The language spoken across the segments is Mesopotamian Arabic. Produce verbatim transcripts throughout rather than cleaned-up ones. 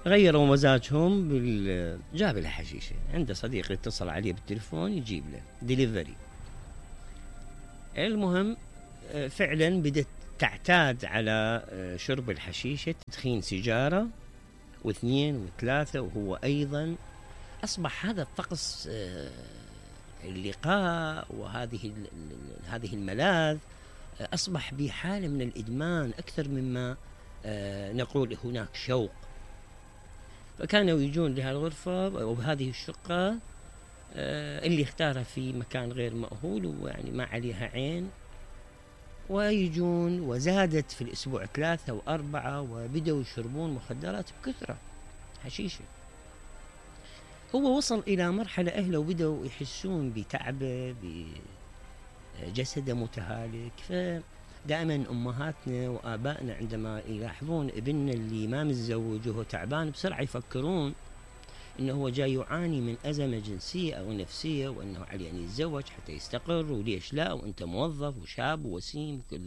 غيروا مزاجهم بال جاب له حشيشه، عنده صديق يتصل عليه بالتليفون يجيب له ديليفري. المهم فعلا بدت تعتاد على شرب الحشيشه، تدخين سيجاره واثنين وثلاثه، وهو ايضا اصبح هذا الطقس اللقاء وهذه هذه الملاذ اصبح بحاله من الادمان اكثر مما نقول هناك شوق. فكانوا يجون لهالغرفة وبهذه الشقة اللي اختارها في مكان غير مأهول ويعني ما عليها عين، ويجون وزادت في الأسبوع ثلاثة وأربعة وبدأوا يشربون مخدرات بكثرة، حشيشة. هو وصل إلى مرحلة أهله وبدأوا يحسون بتعبه، بجسده متهالك. فدائما أمهاتنا وآبائنا عندما يلاحظون ابننا اللي ما متزوج وهو تعبان بسرعة يفكرون إنه هو جاي يعاني من أزمة جنسية أو نفسية، وأنه عليه أن يتزوج حتى يستقر، وليش لا، وأنت موظف وشاب ووسيم، كل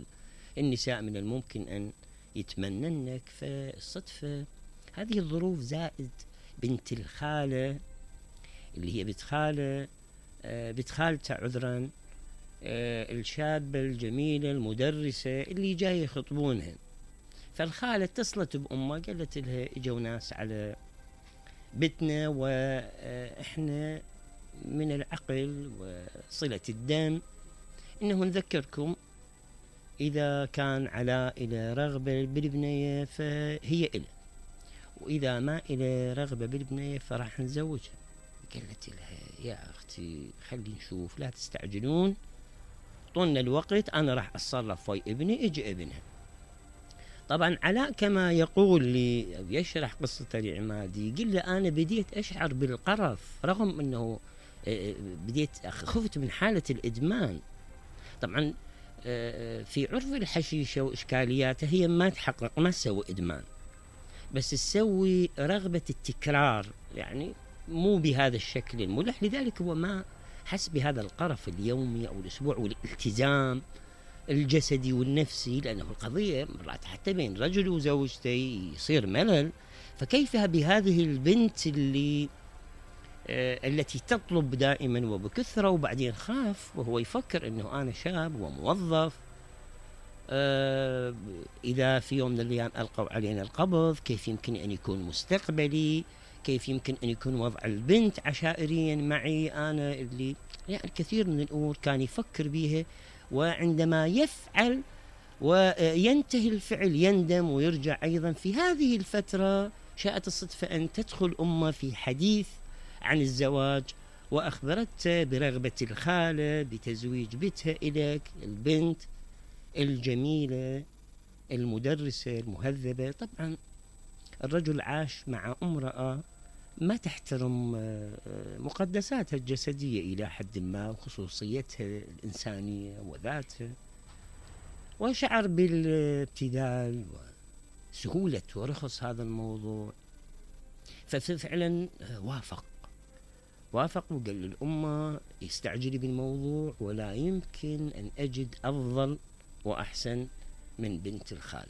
النساء من الممكن أن يتمننك. فالصدفة هذه الظروف زائد بنت الخالة اللي هي بنت خالة بنت خالته عذرا الشابة الجميلة المدرسة اللي جاي يخطبونها. فالخالة اتصلت بأمها قالت لها اجوا ناس على بيتنا واحنا من العقل وصلة الدم انه نذكركم اذا كان علاء الى رغبة بالبنية فهي إله، واذا ما الى رغبة بالبنية فراح نزوجها. قالت لها يا اختي خلي نشوف، لا تستعجلون، طولنا الوقت، انا راح اتصرف ويا ابني، اجي ابنها. طبعا علاء كما يقول لي أو يشرح قصته لعمادي، يقول له أنا بديت أشعر بالقرف رغم أنه بديت خفت من حالة الإدمان. طبعا في عرف الحشيشة وإشكالياتها هي ما تحقق، ما تسوي إدمان، بس تسوي رغبة التكرار، يعني مو بهذا الشكل الملح. لذلك هو ما حس بهذا القرف اليومي أو الأسبوع والالتزام الجسدي والنفسي، لأنه القضية مرات حتى بين رجل وزوجته يصير ملل. فكيف بهذه البنت اللي آه التي تطلب دائما وبكثرة، وبعدين خاف وهو يفكر أنه أنا شاب وموظف، آه إذا في يوم من الأيام ألقوا علينا القبض كيف يمكن أن يكون مستقبلي، كيف يمكن أن يكون وضع البنت عشائريا معي أنا، اللي يعني كثير من الأمور كان يفكر بيها. وعندما يفعل وينتهي الفعل يندم ويرجع أيضا. في هذه الفترة شاءت الصدفة أن تدخل أمه في حديث عن الزواج، وأخبرته برغبة الخالة بتزويج بنتها إليك، البنت الجميلة المدرسة المهذبة. طبعا الرجل عاش مع امرأة ما تحترم مقدساتها الجسدية إلى حد ما وخصوصيتها الإنسانية وذاتها، وشعر بالابتذال وسهولة ورخص هذا الموضوع. ففعلا وافق وافق وقال للأمة يستعجلي بالموضوع، ولا يمكن أن أجد أفضل وأحسن من بنت الخال.